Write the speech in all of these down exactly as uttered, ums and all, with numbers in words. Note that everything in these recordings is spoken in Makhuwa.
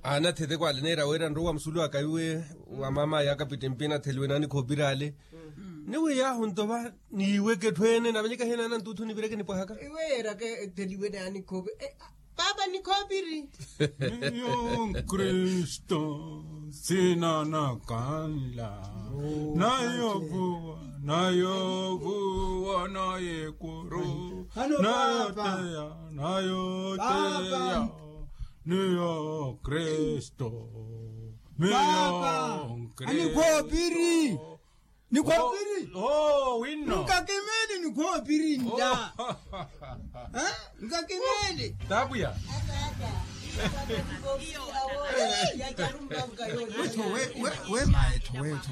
Anathete kwale neera wira nrowa musulu aka iwe wa mama yaka pitimpi natheliwe nani khopirale. Ni wiyahu ntova niweke thwene navanyeka hena nantutu nivireke nipwahaka. Iwe erake theliwe nani khopi. Papa ni khopiri. Niyo nkristo sina nakanla nayo vuwa nayo vuwa naye kuru nayo teya nayo teya. Niyo kristo. Niyo kristo. Nikhopiri. Nikhopiri. Nkakimeli nikhopiri nda. Nkakimeli. Tapuya. Wetho we maetho wetho.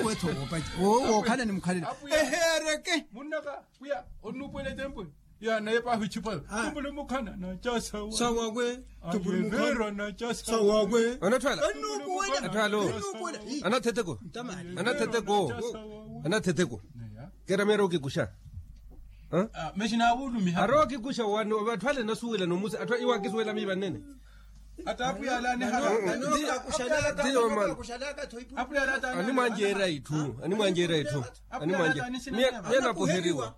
Wetho wopakha wokhala ni mukhalelo. Ehereke. Munnaka puya onupwele tempwe. Ya naye pahu ichipa. Tupuli mukhana na chasawa. Sawakwe. Tupuli mukhana na chasawa. Sawakwe. Anathwala. Anathwala. Anatheteko. Anatheteko. Anatheteko. Kera mero kikusha. Meshina wulumiha aro kikusha wano vathwale nasuwela nomusa athwa iwakisuwela mi vanene. Ata apuyala anihala. Animwanjera itthu. Animwanjera itthu. Animwanjera. Miye napuheriwa.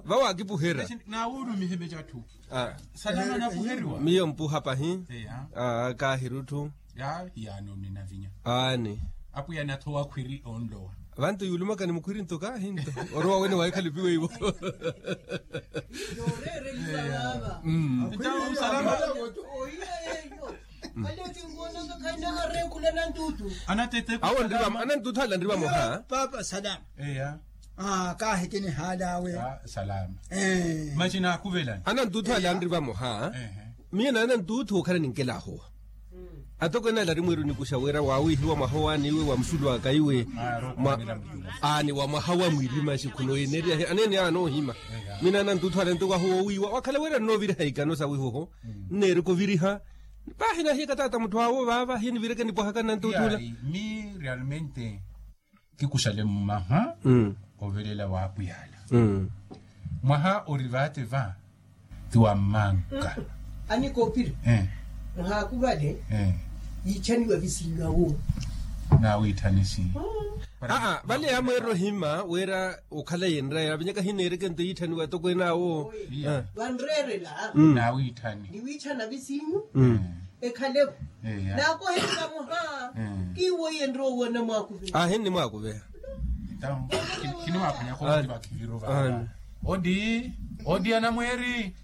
Vawakipuhera. Nawulumihe mecatthu. Salama napuheriwa. Miyo mpuha pahi. Kahirutthu. Yaani oninavinya. Aani. Apuya nathowa khwiri onlowa. Vantu yulumaka ni mukhwiri nto kahinto. Orowa wene wahikhalipiwe iwo. Awo anantutu ala nriva moha. Papa salama. Kaahikini halawe. Salama. Machina akuvelani anantutu ala nriva moha. Miye na anantutu okhala ninkela ahowa. Atokweene ala ari mwiru nikuxa wira wawihiwa mwaha owaani iwe wa musulu aka iwe. Aani wa mwaha wa mwirima xikhuno eneriyahe aneene anoohima. Mina anantuuthu ala nto wahu woowiiwa wakhala wira nnooviriha ikano sawihoho. Nneerika oviriha. Paahi nahiyaka taata mutthu awo vaava hiye nivireke nipwahaka nantuuthu ala. Mi realmente kikuxale mmaha. Ovelela wa apwiya ala. Mwaha ori vaate va ti wa mmanka. Anikoopiri. Mwaha akuvale yiitthaniwa visinyu awo. Nawiitthani si. Aa vale yamweerela ohima wira okhala yenraya avinyaka hineereke nto yiitthaniwa atokweene awo. Vanreerela. Nawiitthani niwiitthana visinyu. Ekhalevo. Naakoheni vamoha. Kiwo iye nrowa owana mwakuvela. Ahinni mwakuvela. Kinimwaphanyaka oti vakhiviru vava. Odi odi anamweeri.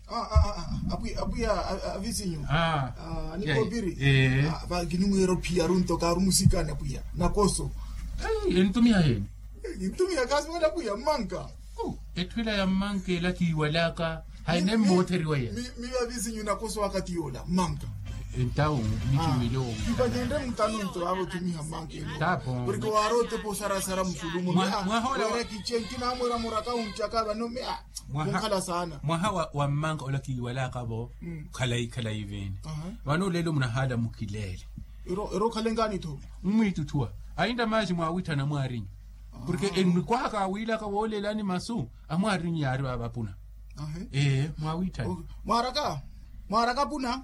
Apwiya avisinyu. Anikoopiri. Kinimweera ophiya aru nto kaaru musikani apwiya nakoso. Entumiha heni? Entumiha kaasi wena apwiya mmanka. Etthu ela ya mmanka ela kiiwalaka. Hayi ne mmootheriwa yena. Mi vavisinyu nakoso wakati yoola mmanka. Entawu. Mikiwile owo. Kipanyende mutano nto vaava otumiha mmanka ela. Porke waari otepa osarasara musulu muno. Wira kiche nkinamwira muraka wunchaka vano mi a kunkhala saana. Mwaha wa mmanka ola kiiwalaka vo. Khalayi khalayi vene. Vano olelo munahaala mukileele. Ero okhalenkaani tho. Mmwiitutthuwa. Ainda maaxi mwaawitthana mwaarinyu. Porke enikwahaka awiilaka woolelani masu amwaarinyu yaari vaava apuna. Ee mwaawitthana. Mwaaraka mwaaraka apuna.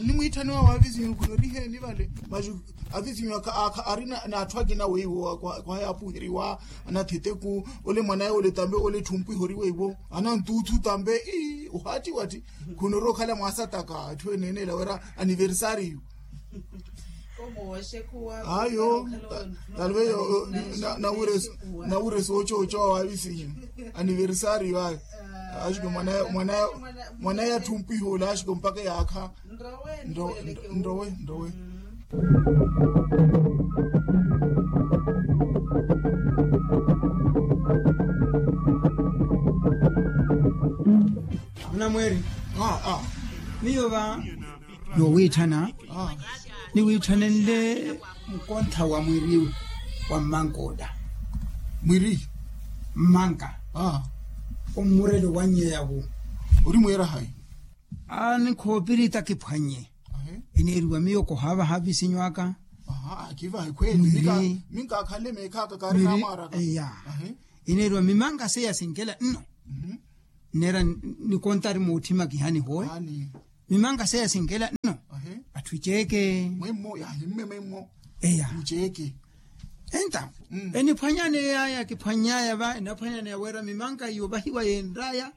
Nimwiitthaniwa wa avisinyu khuna ori heeni vale maxu. Avisinyu akha ari n'atthu akina weiwo khwaya apuheriwa. Anatheteku ole mwanaye ole tambe ole etthu mpwiha ori weiwo anantuuthu tambe. Ohaattiwatthi khuna ori okhala mwaasataka atthu eneene ela wira aniversariyu. Ayo. Talvez nawire soochoocho wa wavisinyu. Aniversariyu ayo. Axiko mwana ya thumpwiha ole axiko mpakha yaakha. Nrowe nrowe. Munamweeri. Miyo va noowiitthana niwiitthanenle mukontha wa mwiri wa mmanka ola. Mwiri mmanka omurelo wannyeya wu. Ori mweera hayi? Anikhoopiri takiphwannye. Eneeriwa miyo kohaavaha avisinyu aka. Kivahe khweeli. Minkaakhale meekhaaka kaari namwaaraka. Eneeriwa mimanka seya sinkela nno. Nneera nikontari muutthima kihanihowe. Mimanka seya sinkela nno. Tthu ceeke. Mwemmo yahimme mwemmo. Eya. Muceeke. Enta. Eniphwanyaneya yakiphwanyaya va enaphwanyaneya wira mimanka yoovahiwa yenraya.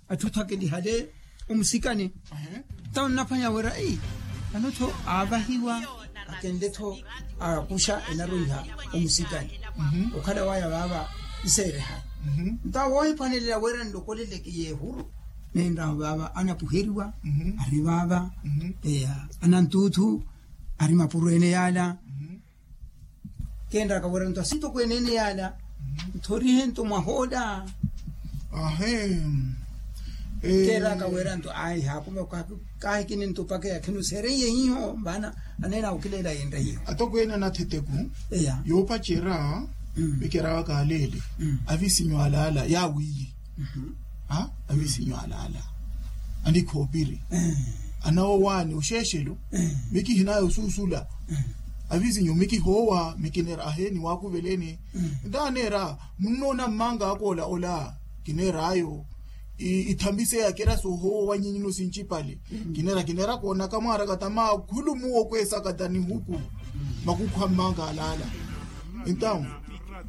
Atthu tho akelihale omusikani. Nta onnaphwanya wira vano tho aavahiwa akenle tho akuxa enarwiha omusikani. Okhala waya vaava nseereha. Nta woohiphwanelela wira nlokoleleke yeehuru. Nenraho vaava anapuheriwa ari vaava. Anantuuthu ari mapuro ene yaala. Keenraka wira nto asintokweene ene yaala nthorihe nto mwahoola. Keeraka wira nto ayi haakume kahikini nto paka yakhino seereiye hiho mvaana aneena okileela yenre hiho. Atokweene anatheteku yoopacerya. Vekerawaka aleele avisinyo alaala yaawiiye. Avisinyo alaala anikhoopiri anawowaani oxeexelo. Mikihinaya osuusula avisinyo mikihoowa mikineera aheeni waakuveleni. Ntaneera munnoona mmanga akoola ola kineeraayo ithambi seya kera soohoowa wanyinyino sincipale. Kineera kineera koonaka mwaaraka tamakhulu muwo kweesaka ta nihuku makukhu a mmanga alaala. Entawu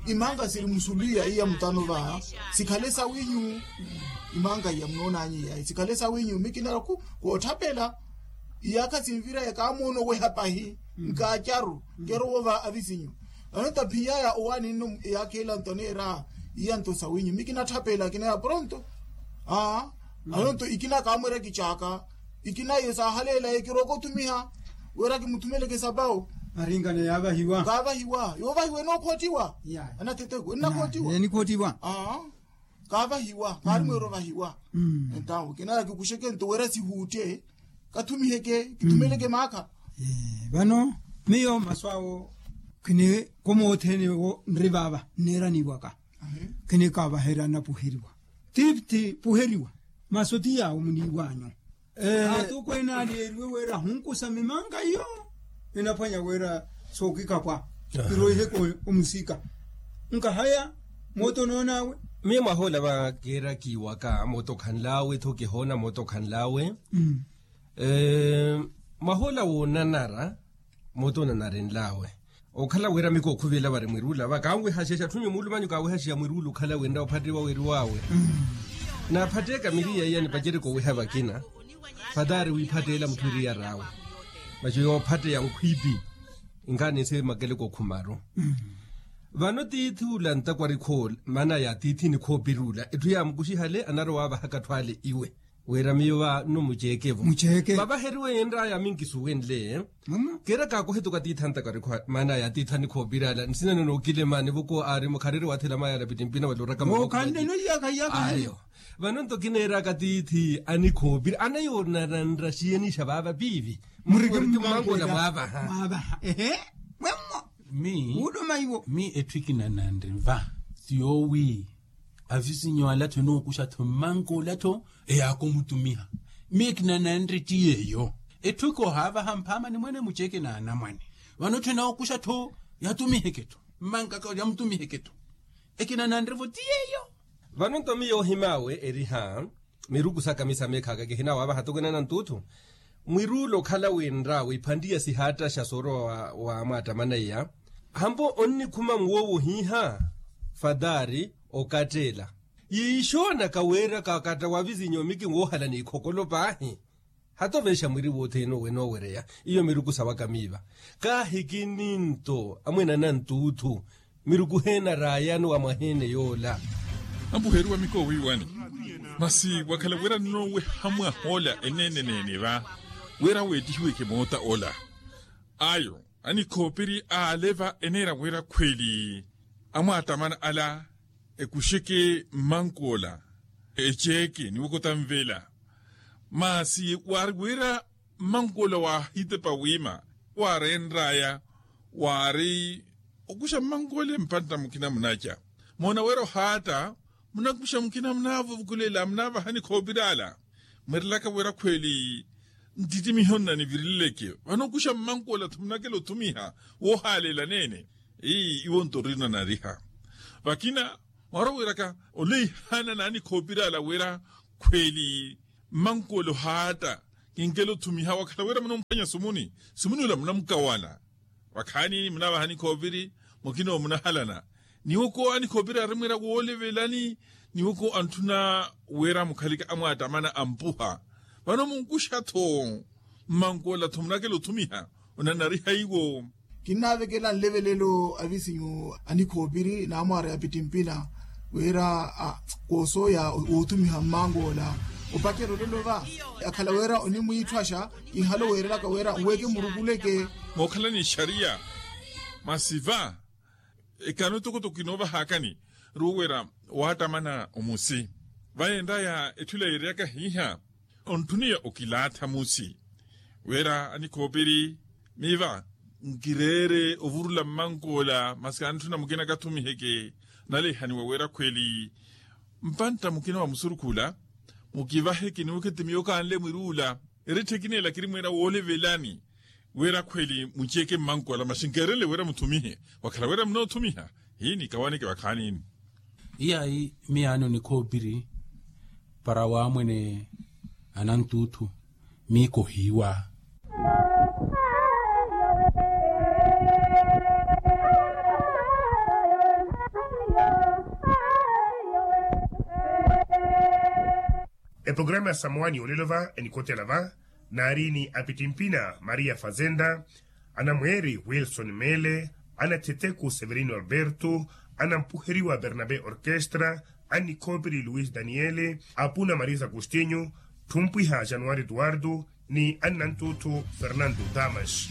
imanga siri musuliya iya mutano va sikhale sawinyu. Imanga iya munoonanyi yayi sikhale sawinyu mikinara ku kootthapela iyaakha sinvira yakaamoono weha pahi nkaacaru kerowo va avisinyu. Ano taphiya ya owaani nno iyaakha ila nto neera iya nto sawinyu mikinatthapela kinaya pronto. Aa ano nto ikina kaamwerya kicaaka ikina iyo saahaleelaye kirooko othumiha wira kimuthumeleke sapawo. Aringana yaavahiwa kaavahiwa yoovahiwa enookhoottiwa. Anatheteku ennakhootiwa enikhootiwa. Kaavahiwa kaari mweera ovahiwa. Entawo kinaya kikuxeke nto wira sihuutte kathumiheke kithumeleke maakha. Vano miyo masu awo khini komootthene wo nri vaava nneeraniwaka khini kaavaherya napuheriwa. Tiithi puheriwa masu ti yaawo muniiwanyu. Atukweene aleeriwe wira ahunkusa mimanga iyo enaphwanya wira sookikapwa. Kiroiheke omusika nkahaya mooto noonaawe. Miyo mwahoola va keerakiwaka mooto khanlaawe tho kihoona mooto khanlaawe. Mwahoola woonanara mooto onanarenlaawe. Okhala wira mikookhuvelela vari mwiruula va kaanwihashexa atthu nyu muulumanyu kaanwihashexa mwiruula okhala winra ophattiwa weriwaawe. Naaphatteeka miriya iya nipacereke owiha vakina. Fatari wiiphatteela mutthu eriyar'awe maci yoophatteya nkhwiipi. Inkaani nse makele kookhumaru. Vano tiithi ula ntakwari khoola maana ya tiithi nikhoopiri ula etthu yaamukuxihale anarowa avahaka atthu ale iwe. Wira miyo va nno muceeke-vo. Vavaheriwe yenr'aya minkisuwenle. Keera kaakohetuka tiithi antakarikhu maana ya tiithi anikhoopiri ala nsina nno nookilemani voko aari mukhariri wathela mayaala pittimpina wala oraka mavokhanle. Ayo vano nto kineeraka tiithi anikhoopiri anayoonanra xiyenixa vaava piivi. Muriki mmankola mwaavaha. Mwemmo. Mi wuuluma iwo mi etthu ekinananre va ti yoowi avisinyo ala-tho enookuxa-tho mmankola-tho eyaakumutumiha. Mi ekinananre ti yeeyo. Etthu ekoohaavaha mphaamani mwene muceke n'anamwane vano-tho enookuxa-tho yatumiheke-tho mmankaka yamutumiheke-tho. Ekinananre-vo ti yeeyo. Vano nto miyo ohim'awe eriha miruku saka misameekhaka kihinaawaavaha atokweene anantuuthu. Mwiruula okhala winr'awe iphantiya sihaattaxa soorowa wa mwaattamana iya. Hampo onnikhuma muwoowo ohiiha fatari okatteela yiixoonaka wira kakatta wa visinyo miki woohala n'ikhokolo paahi. Hatoveexa mwiri wothene owe noowereya iyo miruku sawaka miiva. Kaahikini nto amwene anantuuthu miruku heena raayani wa mwaheene yoola. Ampuheriwa mikowiiwani masi wakhala wira nnooweha mwahoola eneene-neene va wira weettihiweke moota ola. Ayo anikhoopiri aale va eneera wira khweli amwaattamana ala ekuxeke mmankola eceeke niwokota nvela. Masi waari wira mmankola waahitepa wiima waarenr'aya waari okuxa mmankola empantta mukina munaca moona wira ohaatta munakuxa mukina munaavovukulela munaavaha nikhoopiri ala. Mweerelaka wira khweli ntittimiho nnanivirileleke vano okuxa mmankola-tho munakela othumiha woohaaleela neene. Ii iwo nto orinanariha vakina mwaarowiraka oleihana nanikhoopiri ala wira khweli mmankola ohaatta Kinkela othumiha wakhala wira munamphwanya sumuni, sumuni ula munamukawala. Vakhaani munavaha nikhoopiri, mukina omunahalana. Niwoko anikhoopiri arimwira woolivelani, niwoko antthuna wira mukhalika amwaatamana ampuha. Vano munkuxa-tho mmankola-tho munakela othumiha, onanariha iwo. Kinnavekela nlevelelo avisinyu anikhoopiri n'amwaari apittimpina, wira koosooya woothumiha mmankola. Opacerya olelo va, akhala wira onimwiitthwaxa, kinhale oweerelaka wira nweeke murukuleke. Mookhala ni ixariya, masi va ekano etokotoko kinoovahakani, ruwera waattamana omusi. Vayenraya etthu ila yeereyaka hiiha, ontthuniya okilaatha musi, wira anikhoopiri, miiva nkireere ovurula mmankola masi kantthuna mukina kathumiheke. Nalehaniwa wira khweli mpantta mukina wa musurukhula, mukivaheke niwukheti miyo kanle mwiruula. Eretthe ekina ela kirimwira woolivelani, wira khweli muceke mmankola masi nkeerenle wira muthumihe. Wakhala wira munoothumiha, hiini kawaneke vakhaanini. Iyayi miyaani onikhoopiri para waamwene anantuuthu, miiko hiiwa. Eprograma ya samwani yolelo va enikotela va, naari ni apittimpina maria fazenda, anamweeri wilson meele, anattheteku severino alberto, anampuheriwa bernabe orkestra, annikhoopiri luis daniele, apuna marisa agostinho, tthumpwiha januari eduardo, ni annantuuthu fernando damas.